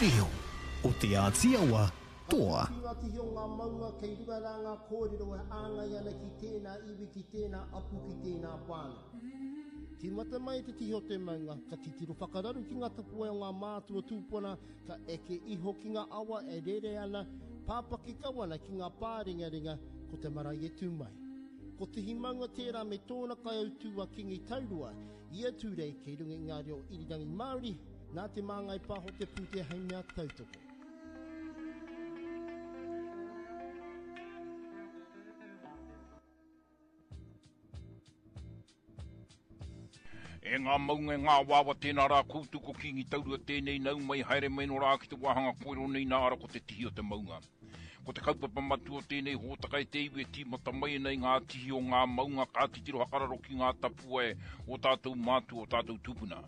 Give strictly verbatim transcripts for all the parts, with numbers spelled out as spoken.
reo o Te Āti Awa toa. Ki ngā tihi o ngā maunga kei runga rā ngā kōrero e āngai ana ki tēnā iwi, ki tēnā apu, ki tēnā whānau. Tīmata mai te tihi o te maunga, ka titiro whakararu ki ngā tapuwae o ngā mātua tūpuna, ka eke iho ki ngā awa e rere ana, pāpaki kau ana ki ngā pārengarenga, ko te marae e tū mai. Ko Tihi Maunga tērā me tōna kaiautū a Kingi Taurua, ia Tūrei kei runga i ngā reo irirangi Māori, nā Te Māngai Pāho te pūtea hei mea tautoko. E ngā maunga e ngā wāwa tēnā rā koutou ko Kīngi Taurua tēnei nau mai haere mai no rā ki te wāhanga koero nei nā ara ko te tihi o te maunga. Ko te kaupapa matua o tēnei hōtaka e te iwi e tīmata mai ana i ngā tihi o ngā maunga ka titiro hakararo ki ngā tapuwae o tātou mātua o tātou tūpuna.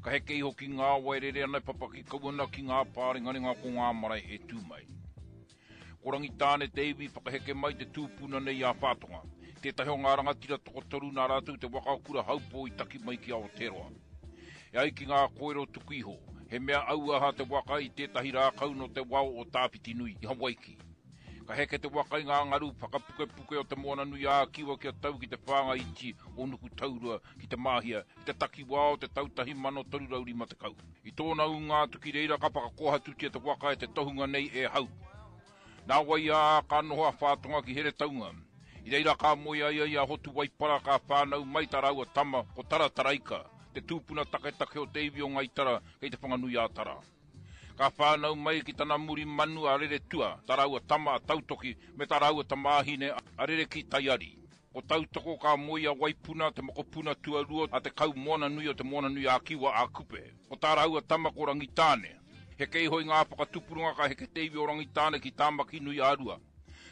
Ka heke iho ki ngā awa e rere ana e papaki kau ana ki ngā pārengarenga ko ngā marae e tū mai. Ko Rangitāne te iwi whakaheke mai te tūpuna nei a Whātonga, tētahi o ngā rangatira tokotoru nā rātou te waka o Kurahaupō i taki mai ki Aotearoa. E ai ki ngā kōrero tuku iho, he mea auaha te waka i tētahi rākau nō te wao o Tāwhitinui i Hawaiki. Ka heke te waka i ngā ngaru whakapukepuke o te Moana Nui ā-Kiwa kia tau ki te whānga iti o Nukutaurua ki te Māhia i te takiwā o te tau tahi mano toru rau rima tekau. I tōna ūnga atu ki reira ka whakakōhatutia te waka e te tohunga nei e Hau. Nā wai ā, ka noho a Whātonga ki Heretaunga. I reira ka moe ai ai a Hotu Waipara ka whānau mai tā rāua tama ko Tarataraika, te tūpuna taketake o te iwi o Ngai Tara kei te Whanganui-ā-Tara. Ka whānau mai ki tana muri manu a Reretua, tā rāua tama a Tautoki me tā rāua tamāhine a Rereki Taiari. Ko Tautoko ka moe i a Waipuna, te mokopuna tuarua a te Kaumoananui o te Moananui-ā-Kiwa a Kupe. Ko tā rāua tama ko Rangitāne. Heke iho i ngā whakatupuranga ka heke te iwi o Rangitāne ki Tāmaki-nui-ā-Rua.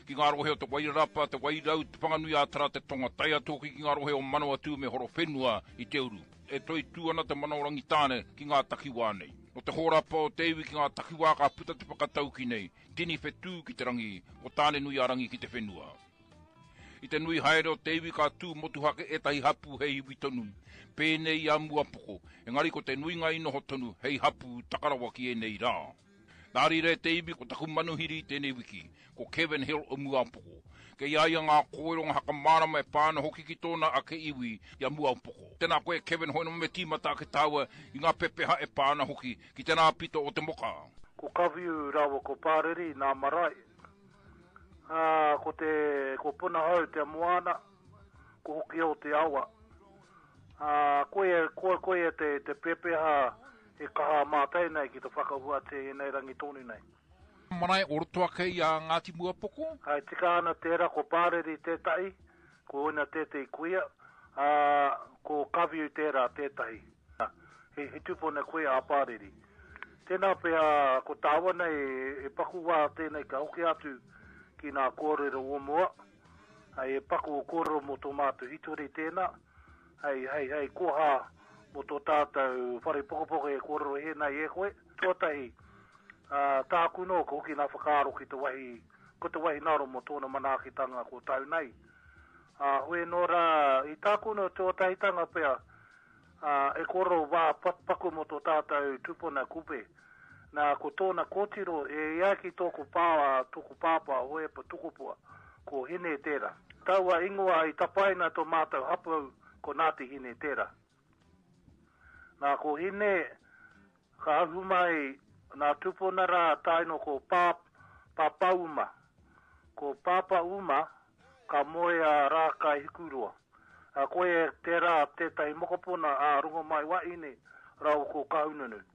Ki ngā rohe o Te Wairarapa, Te Wairau, Te Whanganui-ā-Tara, Te Tonga, tae atu hoki ki ngā rohe o Manawatū me Horowhenua i te uru. E toitū ana te mana o Rangitāne ki ngā takiwā nei. Nō te hōrapa o te iwi ki ngā takiwā ka puta te whakatauki nei, tini whetū ki te rangi, ko Tāne-nui-ā-rangi ki te whenua. I te nui haere o te iwi ka tū motuhake ētahi hapū hei iwi tonu, pēnei i a Muapoko, engari ko te nuinga i noho tonu hei hapū takarawa ki ēnei rā. Nā reira e te iwi ko taku manuhiri i tēnei wiki, ko Kevin Hill o Muapoko. Kei a ia ngā kōrero ngā whakamārama e pā ana hoki ki tōna ake iwi i a Muapoko. Tēnā koe Kevin hoino me tīmata ake tāua i ngā pepeha e pā ana hoki ki tēnā pito o te moka. Ko Kawhiu rāua ko Pāreri nā marae. Ā, ko te, ko Punahou te moana, ko Hokiau te awa. Ā, koia, koia, koia te, te pepeha e kaha mātai nei ki te whakahuatia i ēnei rangi tonu nei. Marae o roto ake i a Ngāti Muapoko. Ā, e tika ana tērā, ko Pāreri tētahi, ko Oina tētahi kuia, ā, ko Kawiu tērā tētahi. He, he tupuna kuia a Pāreri. Tēnā pea, ko tāua nei, e paku wā tēnei ka hoki atu ki ngā kōrero o mua, hei e paku kōrero mō tō mātou hitori tēnā, hei, hei, hei koha mō tō tātou whare pokopoka e kōrero he nei e koe. Tuatahi, ā, tāku nō, ka hoki ngā whakaaro ki te wahi, ko te wahi naro mō tōna manaakitanga ko tau nei. Ā, hoi nō rā, i tāku nō tuatahitanga pea, Ā, e kōrero wā paku mō tō tātou tupuna Kupe. Nā, ko tōna kōtiro, e ai ki tōku pā, tōku pāpā, Hohepa Tukupua, ko Hine tērā. Taua ingoa i tapaina tō mātou hapū, ko Ngāti Hine tērā. Nā, ko Hine, ka ahu mai nā tupuna rā tae noa ko Pā, Pāpāuma. Ko Pāpāuma, ka moe a Rākaihikuroa. Ā, koia tērā tētahi mokopuna a Rongomaiwahine rāua ko Kahungunu.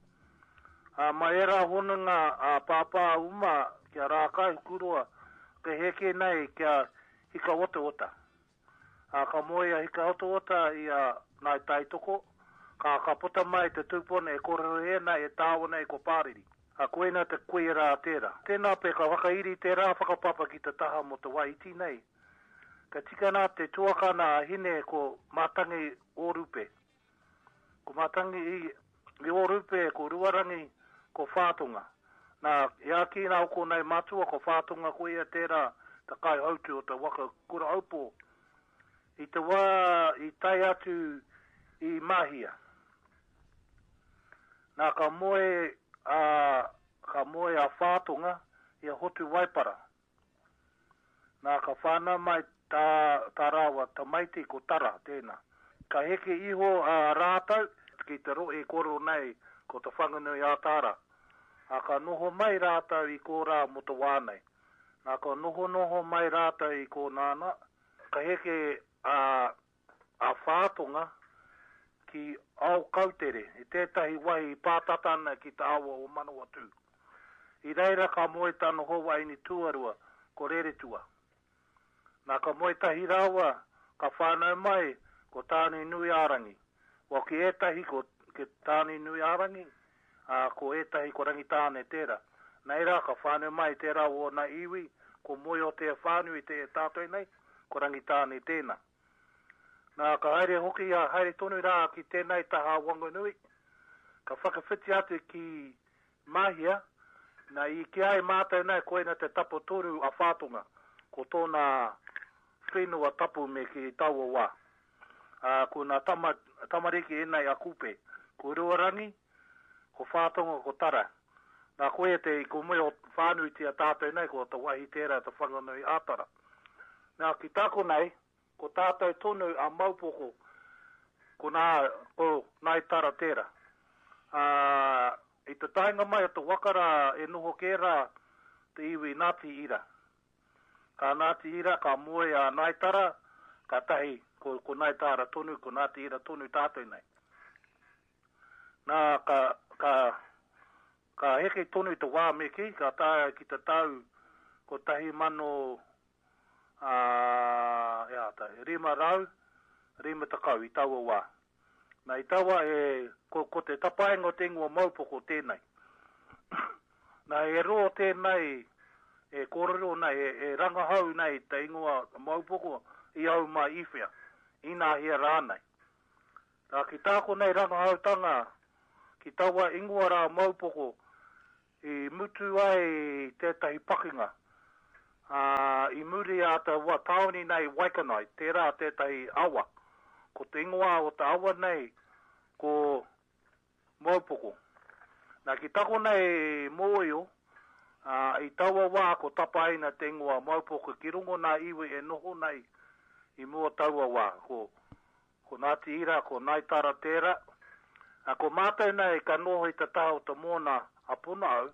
Ā, mai ērā hononga a Pāpā Uma ki a Rākaihukuroa, ka heke nei ki a Hikaotaota. Ā, ka moe a Hikaotaota i a Ngāi Taitoko, ka, ka puta mai te tūpuna e kōrerohia nei, e tāua nei ko Pāriri. Ā, koina te kuia rā tērā. Tēnā pea ka whakairi tērā whakapapa ki te taha mō te wā iti nei. Ka tika nā te tuakana a Hine ko Mātangi Ōrupe. Ko Mātangi i, i Ōrupe, ko Ruarangi, ko Whātonga. Nā, i āki nā oko nei matua ko Whātonga koia tērā te kaihautu o te waka Kurahaupō. I te wā i tae atu i Mahia. Nā, ka moe a, ka ka moe a Whātonga i a Hotu Waipara. Nā, ka whānau mai tā, tā rāua tamaiti ko Tara tēnā. Ka heke iho a rātou ki te rohe kōrero nei ko Te Whanganui a Tara. Ā, ka noho mai rātou i kōrā mō te wā nei. Nā, ka nohonoho mai rātou i kōnānā, ka heke a, a Whātonga ki Aokautere, i tētahi wahi i pātata ana ki te awa o Manawatū. I reira ka moe tana hoa wahine tuarua, ko Reretua. Nā, ka moe tahi rāua, ka whānau mai ko Tāne-nui-ā-rangi. Well, ki ētahi ko Tāne-nui-ā-rangi, ā, ko ētahi ko Rangitāne tērā. Nei rā, ka whānau mai tērā o ōna iwi, ko Moeotea whānui te e tātou nei, ko Rangitāne tēnā. Nā, ka haere hoki a haere tonu rā ki tēnei taha Wanganui, ka whakawhiti atu ki Mahia, nā, i kī ai mātou nei koina te tapatoru a Whātonga, ko tōna whenua tapu me ki taua wā. Ā, ko nā tama, tamariki ēnei a Kupe, ko Ruarangi, ko Whātonga, ko Tara. Nā, koia te, ko moe o whānuitia tātou nei, ko te wahi tērā te Whanganui a Tara. Nā, ki tāku nei, ko tātou tonu a Maupoko, ko nā, ko Ngāi Tara tērā. Ā, i te taenga mai o te waka rā e noho kē rā te iwi Ngāti Ira. Ka Ngāti Ira, ka moe a Ngāi Tara, kātahi ko, ko Ngāi Tara tonu, ko Ngāti Ira tonu tātou nei. Nā, ka, ka, ka heke tonu te wā me kī, ka taea ki te tau kotahi mano ā, he āta, rima rau, rima tekau i taua wā. Nā, i taua e, ko, ko te tapaenga o te ingoa Maupoko tēnei. Nā, e rō tēnei, e kōrero nei, e, e rangahau nei te ingoa Maupoko i au mai i whea, inahea rānei. Nā, ki tā konei rangahautanga, ki taua ingoa rā Maupoko, i mutu ai tētahi pakinga, ā, i muri a te wa tāone nei Waikanae, tērā tētahi awa. Ko te ingoa o te awa nei ko Maupoko. Nā, ki tako nei mōio, ā, i taua wā ko tapaina te ingoa Maupoko ki rongo nā iwi e noho nei i mua taua wā, ko Ko Ngāti Ira, ko Ngāi Tara tērā. Ā, ko mātou nei ka noho i te taha o te moana a Punahou,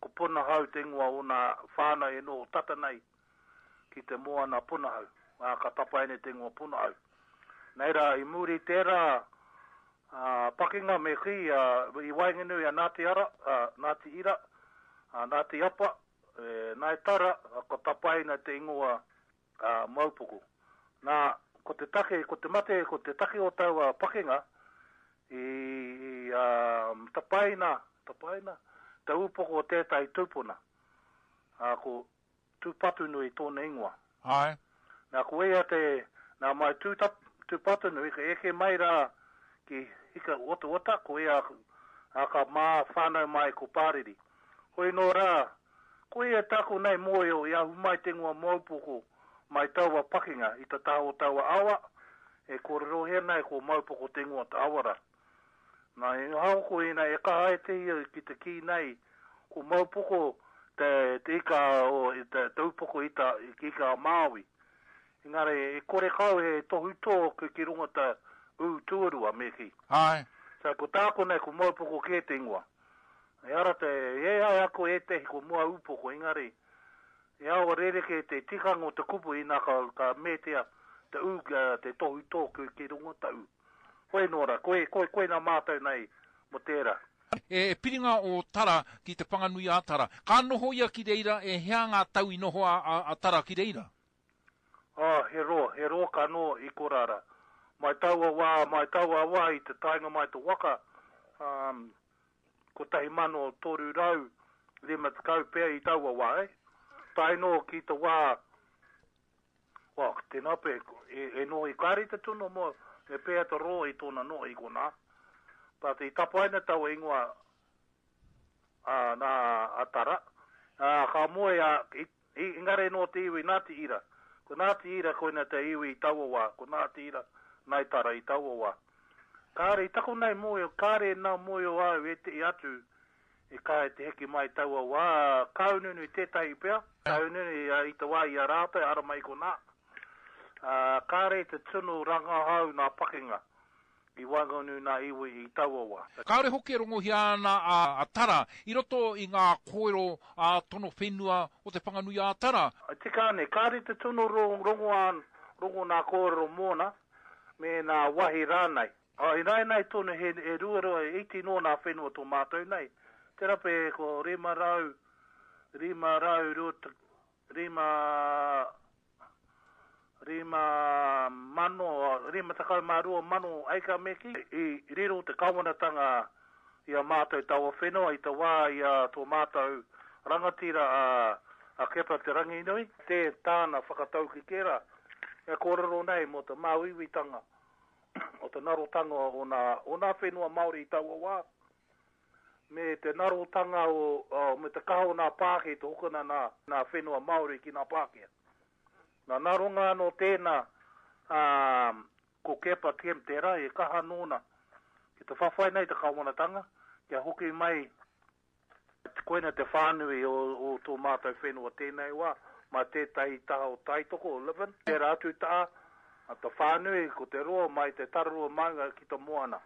ko Punahou te ingoa o nā whānau e noho tata nei ki te moana Punahou, ā, ka tapaina te ingoa Punahou. Nei rā, i muri i tērā, ā, pakinga me kī, ā, i waenganui a Ngāti Ara, ā, Ngāti Ira, ā, Ngāti Apa, e, Ngāi Tara, ka tapaina te ingoa, ā, Maupoko. Nā, ko te take, ko te mate, ko te take o taua pakenga, i, i, ā, tapaina, tapaina, te upoko o tētahi tūpuna, ā, ko Tūpatunui tōna ingoa. Āe. Nā, ko ia te, nā mai Tū, Tūpatunui, ka eke mai rā ki Hika Otaota, ko ia, ā, ka mā whānau mai ko Pāriri. Hoi nō rā, Koia taku nei mōio i ahu mai te ingoa Maupoko mai taua pakinga i te taha o taua awa, e kōrerohia nei ko Maupoko te ingoa te awa ra. Na, i ahaoko ina e kaha ai te ia ki te kī nei ko Maupoko te te ika o te te upoko ita ika a Māui. Engari e kore kau he tohutō ki ki runga te ū tuarua me kī. Āe. So ko tāku nei ko Maupoko kē te ingoa. Ehara te, e ai ako ētehi ko mua upoko, engari, e awa rerekē te tikanga o te kupu ina ka, ka metea te ū, te tohutō ki, ki runga te ū. Koe nō rā, koe, koe, koina mātou nei mo tērā. E piringa o Tara ki Te Whanganui-a-Tara. Ka noho ia ki reira, e hea ngā tau i noho a, a, a Tara ki reira? Oh, he roa, he roa ka noho i korā rā. Mai taua wā, mai taua wā i te taenga mai te waka, um, kotahi mano toru rau rima tekau pea i taua wā, eh? Tae noa ki te wā, well, tēnā pea, e, e noho i kāre te tunu mo, me pēhea te roa i tōna noho i konā. But i tapaina taua ingoa a, nā, a Tara, ā, ka moe a, i, i, engari nō te iwi Ngāti Ira. Ko Ngāti Ira koina te iwi i taua wā, ko Ngāti Ira, Ngāi Tara i taua wā. Kāre i taku nei mōhio, kāre nā mōhio au ētehi atu I kaha te heke mai taua wā, Kahungunu tētahi pea, Kahungunu i te wā i a rātou, ara mai konā. Kāre te tino rangahau nā pakenga i waenganui nā iwi i taua wā. Kāore hoki e rongohia ana a Tara i roto i ngā kōrero ā-tono whenua o Te Whanganui-ā-Tara. Tika ana, kāre te tino rongo nā kōrero mōna me nā wahi rānei. Ināianei tonu he ruarua iti noa nā whenua tō mātou nei. Tērā pea ko rima rau, rima rau rua rima rima mano, rima tekau mā rua mano eika me kī. I riro te kawanatanga i a mātou taua whenua i te wā i a tō mātou rangatira a, a Kepa Te Ranginui, tē tāna whakatauki kērā e kōrero nei mō te māuiuitanga o te narotanga o nā, o nā whenua Māori i taua wā, me te narotanga o, o, me te kaha o nā Pākehā i te hokona nā, nā whenua Māori ki nā Pākehā. Nā naronga anō tēnā, ā, ko Kepa Kemp tērā e kaha nōna ki te whawhai nei te kawanatanga kia hoki mai koina te whānui o, o tō mātou whenua tēnei wā, mā tētahi taha o Taitoko, o Levin, tērā atu taha, a te whānui ko te roa mai te Tararua maunga ki te moana.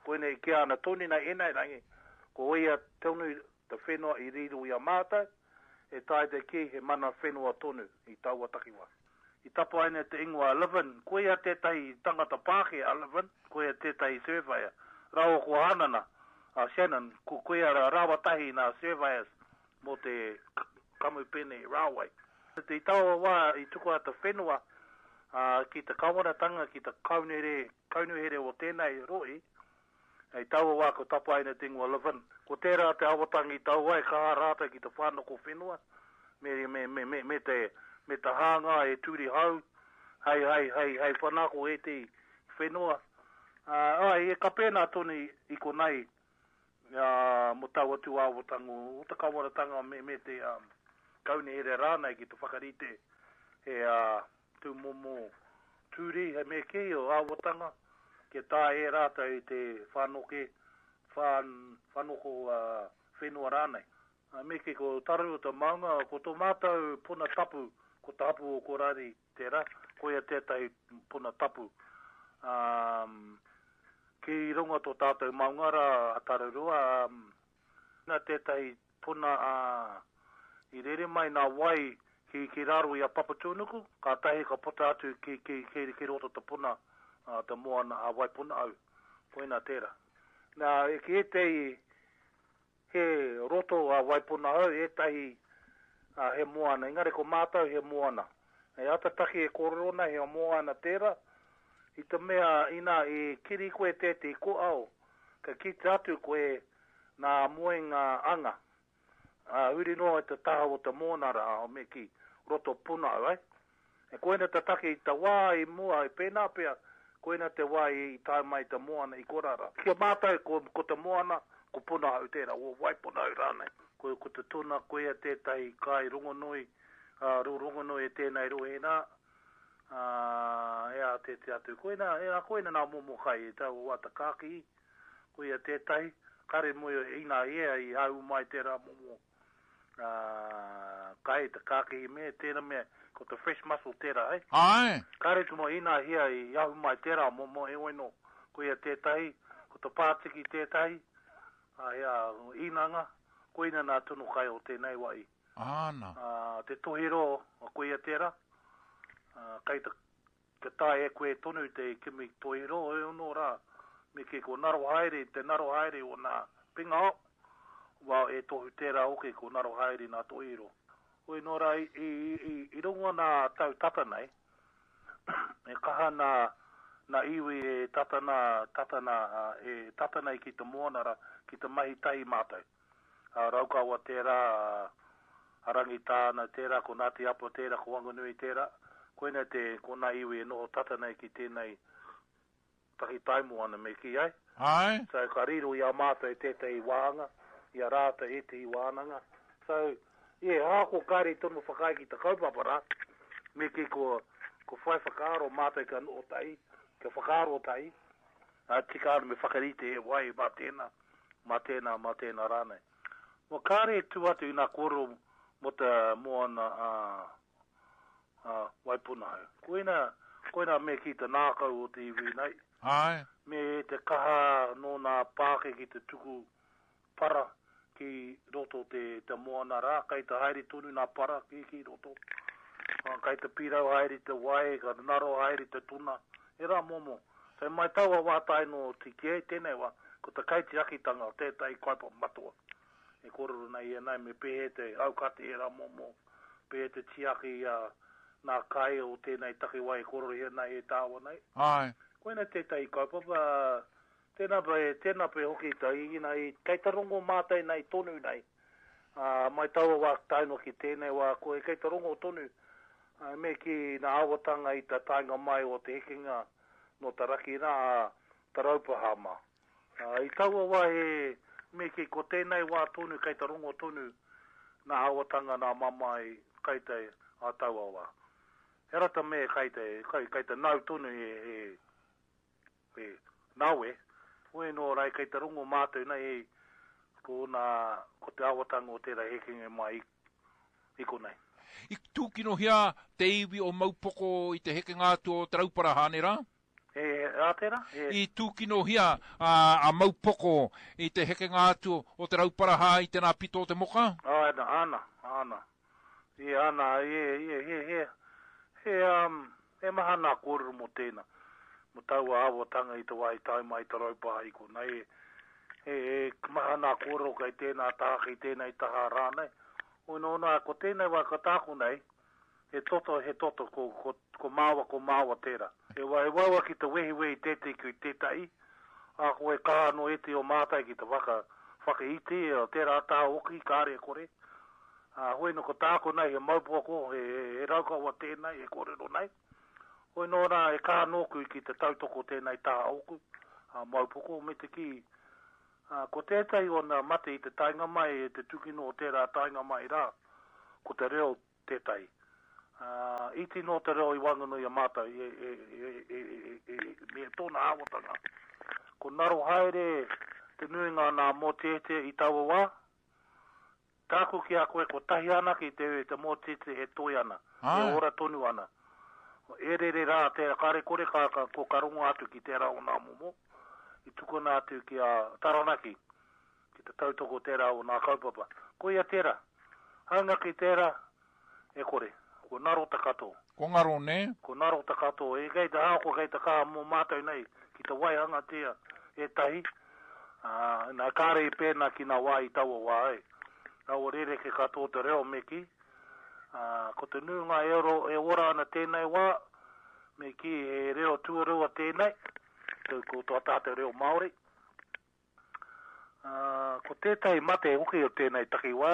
Koinei i kīa ana tonu nei ēnei rangi, ko ia tonu te whenua i riro i a mātou, e taea te kī he mana whenua tonu i taua takiwā. I tapaina te ingoa Levin, koia tētahi tangata Pākehā a Levin, koia tētahi surveyor, rāua ko Hanana, a Shannon, ko koia rāua tahi nā surveyors mō te kamupene railway. I taua wā i tukua te whenua ki te kawanatanga, ki te kaunuhere o tēnei rohe, I taua wā ko tapaina te ingoa Levin. Ko tērā te awatangi i tau ai, kaha rātou ki te whānako whenua me, me, me, me, me te, me te hānga e turi hau, hei, hei, hei, hei whanako ētehi whenua. Uh, ai, e ka pēnā tonu i konei uh, mo taua tū awatanga o te kawanatanga me, me te um, kaunihera rānei ki te whakarite he uh, tūmomo turi, he me kī o awatanga, kia taea e rātou te whanoke, whan, whanoko uh, whenua rānei. Uh, me kī ko Tararua te maunga, ko tō mātou puna tapu, ko te hapu o Korari tērā, koia tētahi puna tapu. Um, ki runga tō tātou maunga rā a Tararua, um, nā tētahi puna uh, i rere mai nā wai ki, ki raro i a Papatūānuku, kātahi ka puta atu ki, ki, ki, ki roto te puna, uh, te moana a Waipunahau, koina tērā. Nā, e ki ētehi he roto a Waipunahau, ētahi uh, he moana, engari ko mātou he moana. E ata taki e kōrero nei he moana tērā, i te mea ina i kiri koe tētehi koao, ka kite atu koe nā moenga anga. Uh, huri noa i te taha o te moana rā, me ki roto punau, ai. E koina te take i te wā i mua, i pēnā pea, koina te wā i tae mai te moana i korara. Ki a mātou, ko, ko te moana, ko Punahau tērā, o Waipunahau rānei. Ko, ko te tuna, koia tētahi kai rongonui, uh, rongonui e tēnei rohe nā, uh, e a te te atu. Koina, e a koina nā momo kai, e taua wā te kākihi, koia tētahi, kare moe ina ia i hau mai tērā momo uh, kai te kākihi me, tēnā mea, ko te fresh mussel tērā, eh? Ai. Kare tu mo ina hia i ahu mai tērā momo e oino, koia tētahi, ko te pātiki tētahi, a hea inanga, koina nā tunu kai o tēnei wai. Āna. Uh, te tohiro, koia tērā, uh, kai te, te tae e koe tonu te kimi tohiro, e ono rā, me ke ko naro haere, te naro haere o nā pingao, wā e tohu tērā hoki ko naro haere nā tohiro. Hoi nō rā, i, i, i, i rongo nā tau tata nei, e kaha nā, nā iwi e tata nā, tata nā, e tata nei ki te moana rā, ki te mahi tahi mātou. A Raukawa tērā, a Rangitāna tērā, ko Ngāti Apa tērā, ko Wanganui tērā. Koina te, ko nā iwi e noho tata nei ki tēnei tahi taimoana me kī ai. Ai. So ka riro i a mātou tētahi wāhanga, i a rātou ētahi wānanga. So, yeah, ahakoa kāre tonu whakaae ki te kaupapa rā, me kī ko, ko whai whakaaro mātou ka noho tahi, ka whakaaro tahi, a tika ana me whakarite e wai mā tēnā, mā tēnā, mā tēnā rānei. Wa kāre e tū atu i nā kōrero mō te moana a, a Waipunahau. Koina, koina me ki te nākau o te iwi nei. Ai. Me te kaha nō nā pāke ki te tuku para ki roto te, te moana rā, kai te haere tonu nā para ki, ki roto. Kai te pirau haere te wai, ka naro haere te tuna. E rā momo. So mai taua wā tae no tiki tēnei wā, ko te kaitiakitanga o tētahi kaupapa matua. E kōrero nei e nei me pēhe te aukati e rā momo, pēhe te tiaki a nā kai o tēnei takiwā e kōrero hea nei e tāwa nei. Ai. Koina tētahi kaupapa, tēnā pe, tēnā pe hoki ta, i, i, kei te rongo mātai nei tonu nei. Uh, mai taua wā tae noa ki tēnei wā, ko e kei te rongo tonu, uh, me ki nā awatanga i te taenga mai o te hekenga no te raki rā, te raupahama. Uh, i taua wā he, me ki ko tēnei wā tonu, kei te rongo tonu nā awatanga nā mamai kei te a taua wā. He rata me kei te, kei, kei te nau tonu e, e, e nawe, hoi nō rai kei te rongo mātou nei e, ko, nā, ko te awatanga o tērā hekenga mai i, i konei. I tūkinohia te iwi o Maupoko i te hekenga atu o Te Rauparaha, ne rā? E, a tērā? E. I tūkinohia a, a Maupoko i te hekenga atu o Te Rauparaha i tēnā pito o te moka? Ana, ana, ana. I ana, e, e, he, he, he, um, he maha nā kōrero mō tēnā. Mō taua awatanga i te wā i tae mai Te Rauparaha i konei. E, e, e maha nā kōrero kei tēnā taha, kei tēnei taha rānei. Oi nō nā, ko tēnei wā ka tāku nei, he toto, he toto, ko, ko, ko māua, ko māua tērā. E wa, e waua ki te wehiwehi tētei ki tētahi, a ko e kaha no ete o mātai ki te whaka, whakaiti, o tērā taha hoki, kāre e kore. A, hoi no ko tāku nei, he maupoko, he, he, he raukawa tēnei, e kōrero nei. Hoi nō rā, e kaha nōku ki te tautoko tēnei taha oku, a maupoko, me te ki, a, ko tētahi o nā mate i te taenga mai, e te tukino o tērā taenga mai rā, ko te reo tētahi. Uh, iti nō te reo i waenganui a mātou, e, e, e, e, e, e, me tōna awatanga. Ko naro haere te nuinga nā mōteete i taua wā, tāku ki a koe ko tahi ana ki te, te mōteete e toi ana, Ai. e ora tonu ana. E rere rā, te kare kore ka, ka, ko ka rongo atu ki tērā o nā momo, i tukuna atu ki a Taranaki, ki te tautoko tērā o nā kaupapa. Koia tērā, haunga ki tērā, e kore. Ko naro te katoa. Ko ngaro, ne? Ko naro te katoa. E kei te hāko, kei te kaha mō mātou nei, ki te waihanga tea e tahi. Uh, nā kāre i pēnā ki nā wā i taua wā ai. Nā o rere ke katoa te reo me ki. Uh, ko te nuinga e, oro, e ora ana tēnei wā, me ki he reo tuarua tēnei, ko tō tātou reo Māori. Uh, ko tētahi mate hoki o tēnei takiwā,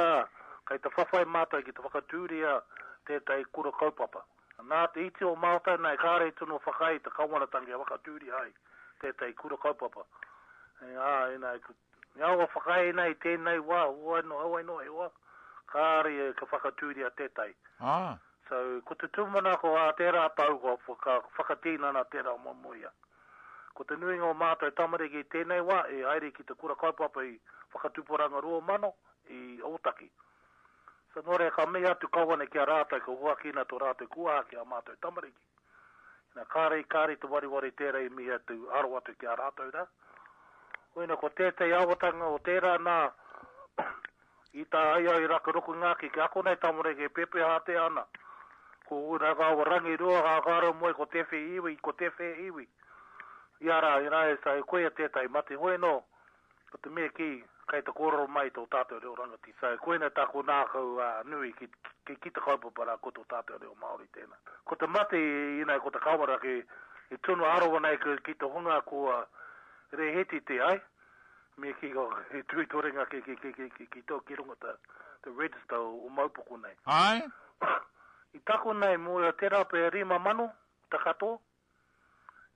kei te whawhai mātou ki te whakatūria tētahi kura kaupapa. Nā te iti o mātou nei, kāre tino whakai te kawanatanga e whakatūria ai tētahi kura kaupapa. E, ā, e nei, e awa whakai nei tēnei wā, hoi no, hoi no, he wā, kāre e ka whakatūria tētahi. Ah. So, ko te tūmanako a tērā tau, ko whaka, whakatīnana tērā momoia. Ko te nuinga o mātou tamariki i tēnei wā, e haere ki te kura kaupapa i whakatupuranga rua mano i Ōtaki. So nō reira ka mihi atu kawane ki a rātou, ko huakina tō rātou kuaha ki a mātou tamariki. Nā, kāre, kāre te wariwari tērā i mihi atu, aro atu ki a rātou rā. Oina, ko tētahi awatanga o tērā nā, i tā ai ai raka roku ngāki, ki ako nei tamariki e pepeha te ana. Ko ura ngā rangi rua, ngā kāro moe, ko te whe iwi, ko te whe iwi. I ara, i rā e sa, e koia tētahi mate hoi nō, ko te mea ki, kei te kōrero mai tō tātou reo rangati. So, koina tā ko nākau uh, nui ki, ki, ki te kaupapa rā ko tō tātou reo Māori tēnā. Ko te mate i nei, ko te kawara ki, i tunu arowa nei ki, ki te hunga ko uh, reheti te ai, me ki ko he tuitorenga ki, ki, ki, ki, ki, ki tō ki runga te, te register o, o Maupoko nei. Ai? I tako nei mō ia tērā pe rima mano te katoa.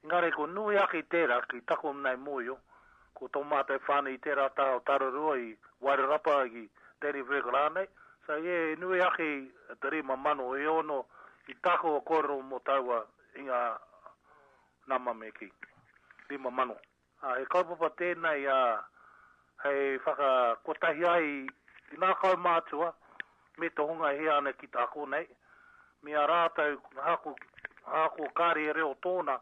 Engari ko nui ake i tērā ki tako nei mōio, ko tō mātou whānau i tērā taha o Tararua i Wairarapa i Dannevirke rānei. So e nui ake i te rima mano e ono i tako o kōrero mō taua i ngā nama me ki. Rima mano. Ah, he kaupapa tēnei a hei whakakotahi ai Ki nā kaumātua, me te hunga e hia ana ki te ako nei, me a rātou hako, hako kāre e reo tōna,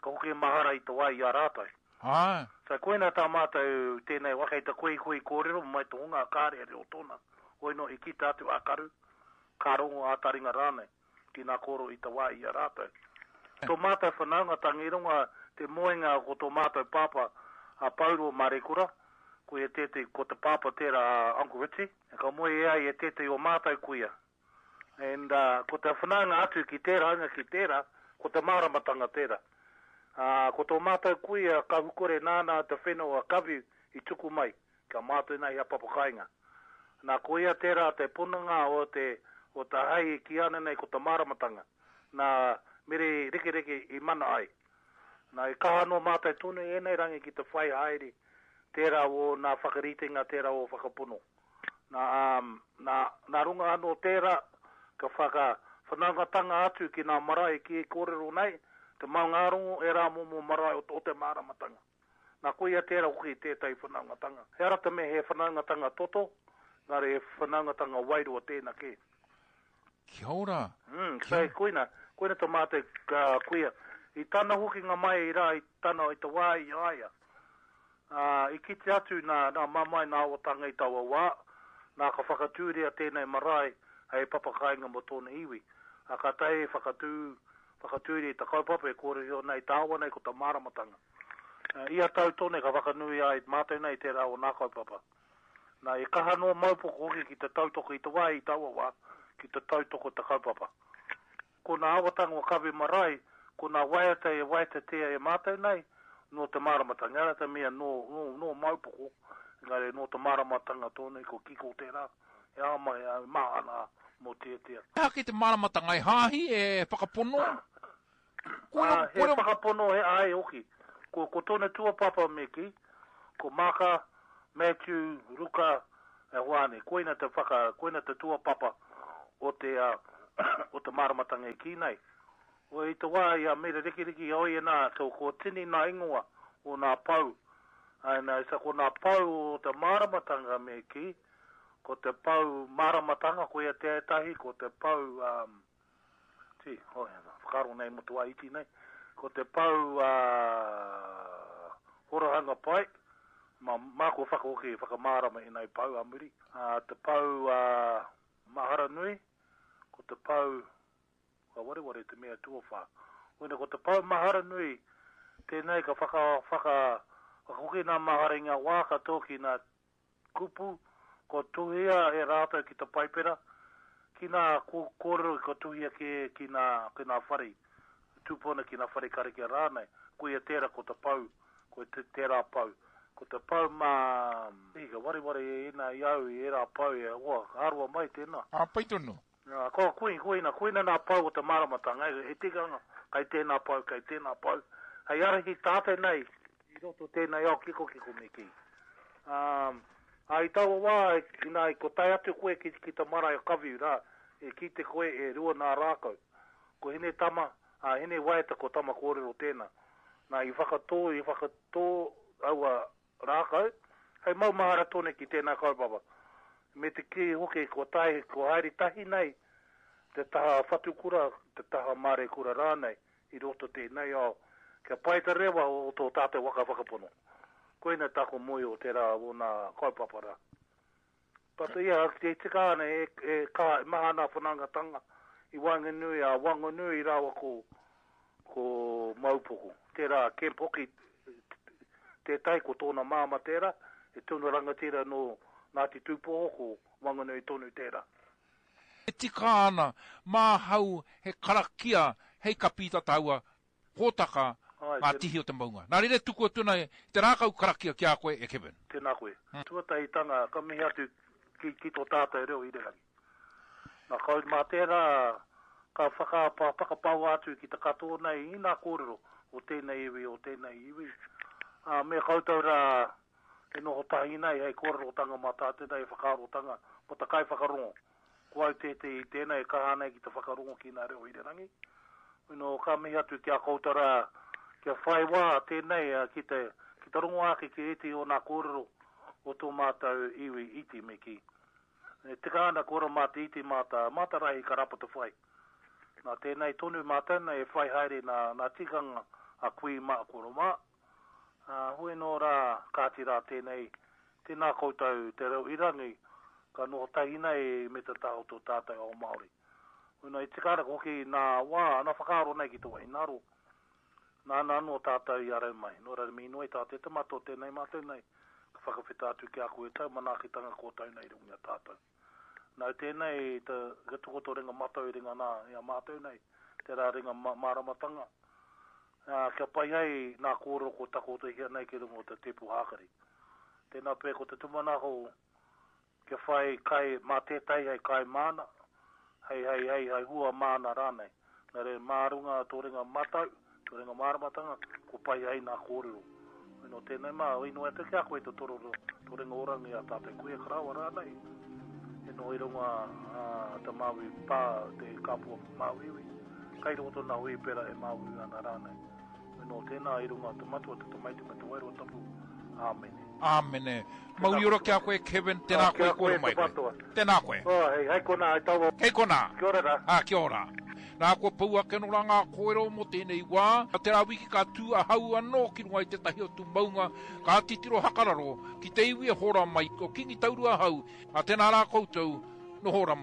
ka hoki mahara i te wā i a rātou. Āe. So koina tā mātou tēnei waka i te koikoi kōrero mai te hunga kāre e reo tōna, hoi nō i kita atu a karu, ka rongo a taringa rānei, ki nā kōrero i te wā i a rātou. Tō mātou whanaungatanga i runga te moenga ko tō mātou pāpā a Pauro Marekura, ko ia tētehi, ko te pāpā tērā a Uncle Richie, ka moe e ai e tētehi o mātou kuia. And uh, ko te whanaunga atu ki tērā hunga ki tērā, ko te māramatanga tērā. Uh, ko tō mātou kuia kahukore nāna te whenua kaviu i tuku mai, kia mātou nei a papakainga. Nā ko ia tērā te pononga o te, o te hai ki ana nei ko te māramatanga. Nā mere rekereke i mana ai. Nā i kaha no mātou tonu e nei rangi ki te whai haere tērā o nā whakaritenga, tērā o whakapono. Nā, um, nā, nā runga anō tērā ka whaka whanaungatanga atu ki nā marae ki e kōrero nei, te maungārongo e rā momo marae o, o te māramatanga. Nā koia tērā hoki tētahi whanaungatanga. He ara te me he whanaungatanga toto, ngāre he whanaungatanga wairua tēnā kē. Kia ora. Mm, so, koina, koina tō mātou uh, kuia. I tana hoki ngā mai i rā, i tana i te wā i aia. Uh, i kite atu nā, nā mamai nā awatanga i taua wā, nā ka whakatūria tēnei marae hei papakainga mō tōna iwi. A ka tae whakatū, whakatūria i te kaupapa e kōrero nei tāwa nei ko te māramatanga. Uh, ia tau tone ka whakanui ai mātou nei tērā o nā kaupapa. Nā, i kaha no maupoko hoki ki te tautoko i te wā i taua wā, ki te tautoko te kaupapa. Ko nā awatanga o Kawe Marae, ko nā waiata e waiatatea e mātou nei, nō te māramatanga. Ara te mea nō, nō, nō maupoko, engari nō te māramatanga tōne ko kiko tērā, e ama e maana mō tia. He ake te māramatanga e hāhi e whakapono? Koina, uh, he koina... whakapono he ai hoki. Ko, ko tōna tuapapa me ki, ko Maka, Matthew, Ruka, e Hoane. Koina te whaka, koina te tuapapa o te, uh, o te māramatanga e ki nei. O i te wā i a Mere Rikiriki oi e nā, ko, ko tini nā ingoa o nā pau. Ai nā, isa ko nā pau o te māramatanga me ki, ko te pau māramatanga, ko ia te etahi, ko te pau, um, ti, oh, whakaaro nei mo te wā iti nei, ko te pau uh, horahanga pai, ma, mā ko whakahoki whakamārama i nei pau a muri. Uh, te pau uh, mahara nui, ko te pau, ka wareware te mea tuawhā. Oina, ko te pau mahara nui, tēnei ka whaka, whaka, whakahoki nā mahara i ngā wā katoa ki nā kupu, ko tuhia e rātou ki te paipera, ki nā kōrero ko tuhia ki, ki nā, ki nā whare, tūpona ki nā whare karakia rānei. Ko ia tērā ko te pau, ko te, tērā pau. Ko te pau mā, i ka wareware e ina i au i era pau e hoa, aroa mai tēnā. A, pai tonu. Uh, ko koina, koina, koina nā pau o te māramatanga, he tikanga, kai tēnā pau, kai tēnā pau. Hei arahi tātou nei, i roto tēnei ao kiko kiko me ki. Um, a i taua wā, ina i ko tae atu koe ki, ki te marae o Kaviu rā, e ki te koe e rua nā rākau. Ko hine tama, a hine waeta ko tama kōrero tēnā. Nā, i whakatō, i whakatō aua rākau, hei mau mahara tone ki tēnā kaupapa. Me te ki hoki ko tae, ko haere tahi nei, te taha whatukura, te taha mārekura rānei, i roto tēnei ao, kia pai te rewa o tō tātou waka whakapono. Koina tako moi o tērā o nā kaupapa rā. But ia, te tika ana e, e, ka, e maha nā whanangatanga i Wanganui, a Wanganui rāua ko, ko Maupoko. Tērā, Kemp hoki, tētai ko tōna māma tērā, e tunu rangatira no Ngāti Tūpoho ko Wanganui tonu tērā. E tika ana, māhau he karakia hei kapita taua hōtaka ngā tihi o te maunga. Nā reira tuku atu nei te rākau karakia ki a koe e Kevin. Tēnā koe. Hmm. Tuatahitanga, ka mihi atu ki, ki tō tātou reo irirangi. Nā kau mā tērā ka whakapa, whakapaua atu ki te katoa nei i nā kōrero o tēnei iwi, o tēnei iwi. Uh, me koutou rā e noho tahi nei hei kōrerotanga mā tātou nei whakaarotanga mō te kai whakarongo. Ko au tētehi i tēnei e kaha nei ki te whakarongo ki nā reo irirangi. No, ka mihi atu ki a koutou rā, kia whai wā tēnei ki te, ki te rongo ake ki ētehi o nā kōrero o tō mātou iwi iti me ki. E tika ana koro mā te iti mā ta, mā ta rahi ka rapa te whai. Nā tēnei tonu mātou nei e whai haere nā, nā tikanga a kui mā koro mā. Ā, hoi nō rā, kāti rā tēnei, tēnā koutou te reo irangi, ka noho tahi nei me te taha o tō tātou ao Māori. Hoi nō, e tika ana hoki nā wā, nā whakaaro nei ki te wahinaro, nāna anō tātou i arau mai. Nō reira, me inoi tā te tamato tēnei mātou nei, ka whakawheta atu ki a koe tau manaakitanga kōtau nei i runga i a tātou. Nau tēnei te, te tukoto ringa matau ringa nā i a mātou nei, tērā ringa ma, māramatanga, ā, kia pai ai nā kōrero ko takotohia nei ki runga o te tepu hākari. Tēnā pē ko te tumanako kia whai kai mā tētahi hei kai māna, hei, hei, hei, hei hua māna rānei. Nā reira, mā runga tō ringa matau, tō ringa māramatanga, ko pai ai nā kōrero. Nō tēnei mā, inoi atu ki a koe te tororo, tō ringa orangi a tātou kuia karawa rānei. E noho i runga a, te Māui pā, te kapua Māuiui. Kai roto nā hui pera e Māuiui ana rānei. Nō tēnā i runga te matua, te tamaiti me te wairua tapu. Āmene. Āmene. Mauri ora ki a koe, Kevin, tēnā Ah, koe kia koe kōrero te mai koe. matua. Tēnā koe. Oh, hei, hei konā, hei taua. Kei konā. Kia ora rā. Ah, kia ora. Nā, kua pau ake nō rā ngā kōrero mō tēnei wā. Tērā wiki ka tū ahau anō ki runga i tētahi o tū maunga, ka titiro hakararo ki te iwi e hora mai, ko Kingi Taurua ahau. A tēnā rā koutou, noho ora mai.